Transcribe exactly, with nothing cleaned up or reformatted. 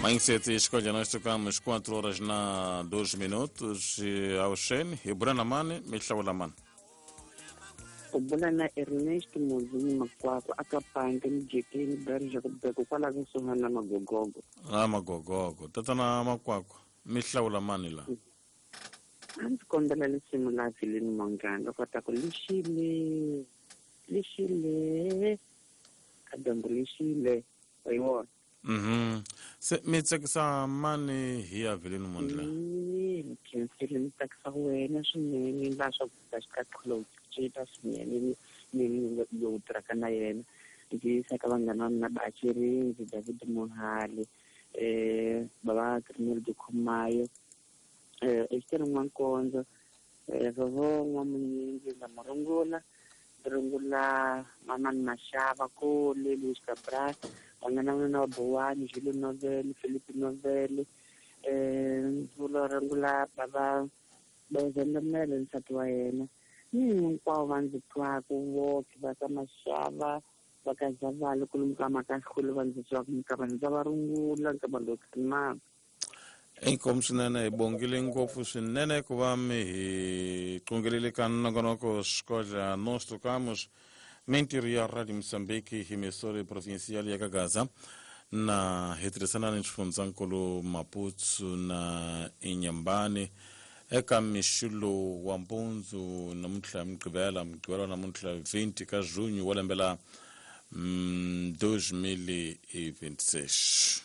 Manhã escolha, nós tocamos quatro horas na dois minutos ao Xen e Brana Mane, me hlawula mani. U bula na Ernest Muzini Makwakwa aka Panke Mijekeni Barry Jacob kwala kusuhani na Magogogo. Ah, Magogogo. Tatana Makwakwa, mi hlawula mani la? A ndzi kombela risimu la Vileni Mongana kota ku lexile lexile ka dyambu lexile wa yi vona. Mhm. Se mi tsakisa mani hi ya Vileni Mondla? Ni khensile ni tsakisa wena swinene la swa ku ta xikaqhulo cinca swinene ni ni lowu tirhaka na yena ndzi yisa ka vanghana va mina Bachirinzi David Mohali eh baba Crinel Dikhomayo eh Esther N'wankonzo eh Vovo N'wamunyingi na Murungula Rungula Mamani Mashava Kole Luis Cabral vanghana va mina va Bowani Jules Novel Philippe Novel eh Vulo Rungula baba Bozendamele nsati wa yena ni hinkwavo va ndzi twaka voke va ka Mashava va ka Zavalo kolomu ka Makahlulu va ndzi twaka minkavani ndza va rungula nkava lowu tshimaka. Inkomu swinene hi bongile ngopfu swinene ku va mi hi qungelele ka nongonoko Escolha nós tocamos mintirho ya Radio Moçambique emissora provincial ya Gaza na hi tirhisana ni xifundzankulu Maputo na Inhambane eka mixo lowu wa mpundzu namuntlha Mugqivela Mugqivela namuntlha vinte ka junho wa lembe la mm, dois mil e vinte e seis.